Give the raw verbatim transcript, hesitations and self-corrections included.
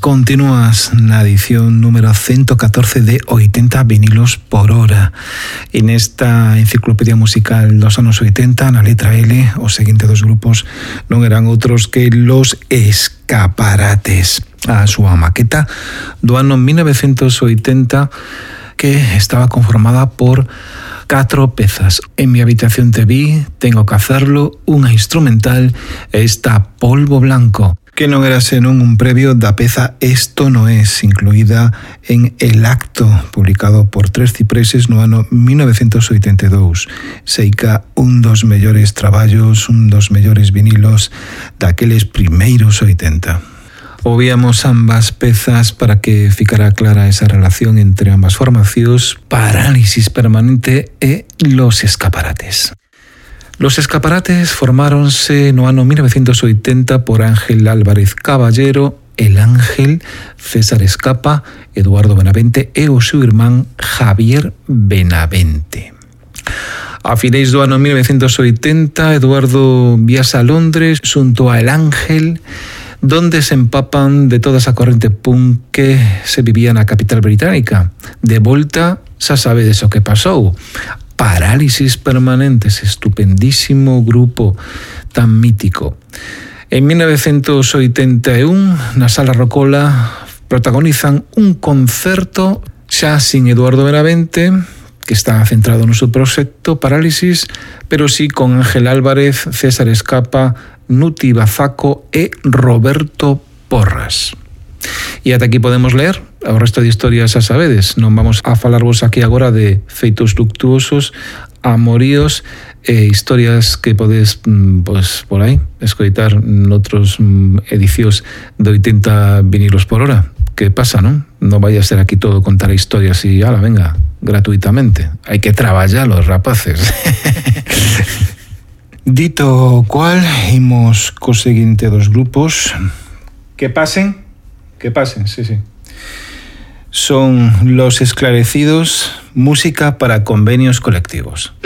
Continúas na edición número ciento catorce de oitenta vinilos por hora. En esta enciclopedia musical dos anos oitenta, na letra L, os seguintes dos grupos non eran outros que Los Escaparates. A súa maqueta do ano mil novecientos oitenta, que estaba conformada por catro pezas. En mi habitación te vi, tengo que hacerlo, unha instrumental e esta Polvo Blanco, que non era senón un previo da peza Esto no es, incluída en El Acto, publicado por Tres Cipreses no ano mil novecientos oitenta e dous. Seica un dos mellores traballos, un dos mellores vinilos daqueles primeiros oitenta. Ouvíamos ambas pezas para que ficara clara esa relación entre ambas formacións, Parálisis Permanente e Los Escaparates. Los Escaparates formáronse no ano mil novecientos oitenta por Ángel Álvarez Caballero, El Ángel, César Escapa, Eduardo Benavente e o seu irmán Javier Benavente. A finais do ano mil novecientos oitenta, Eduardo viaxa a Londres xunto a El Ángel, donde se empapan de toda esa corrente punk que se vivía na capital británica. De volta, xa sabedes o que pasou. Parálisis Permanentes, estupendísimo grupo tan mítico. En mil novecientos oitenta e un, na Sala Rocola, protagonizan un concerto xa sin Eduardo Benavente, que está centrado no seu proxecto Parálisis, pero sí con Ángel Álvarez, César Escapa, Nuti Bazaco e Roberto Porras. E ata aquí podemos ler. O resto de historias xa sabedes. Non vamos a falarvos aquí agora de feitos luctuosos, amoríos e historias que podes, pues, por aí, escoitar noutros edicións de oitenta vinilos por hora. Que pasa, non? Non vai a ser aquí todo contar historias e, ala, venga, gratuitamente. Hai que traballar os rapaces. Dito cual, imos co seguinte dos grupos. Que pasen, que pasen, sí, sí. Son Los Esclarecidos, música para convenios colectivos.